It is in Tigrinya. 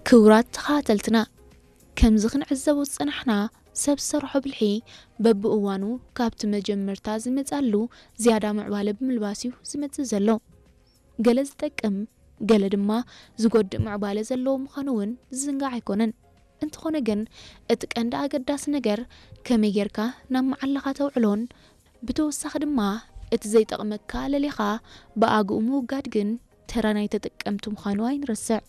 ክቡራት ተኸታተልትና፣ ከምዚ ክንዕዘቦ ዝጸናሕና፣ ሰብ ዝሰርሖ ብልሒ በብእዋኑ ካብቲ መጀመርታ ዝመጻሉ ዝያዳ ምዕባለ ብምልባስ እዩ ዝመጽእ ዘሎ። ገለ ዝጠቅም፣ ገለ ድማ ዝጎድእ ምዕባለ ዘለዎ ምዃኑ እውን ዝዝንጋዕ ኣይኮነን። እንተኾነ ግን፣ እቲ ቀንዲ ኣገዳሲ ነገር ከመይ ጌርካ ናብ መዓላኻ ተውዕሎን፣ ብተወሳኺ ድማ እቲ ዘይጠቕመካ ለሊኻ ብኣግኡ ምውጋድ ግን ተራ ናይ ተጠቀምቲ ምዃኑ ኣይንረስዕ።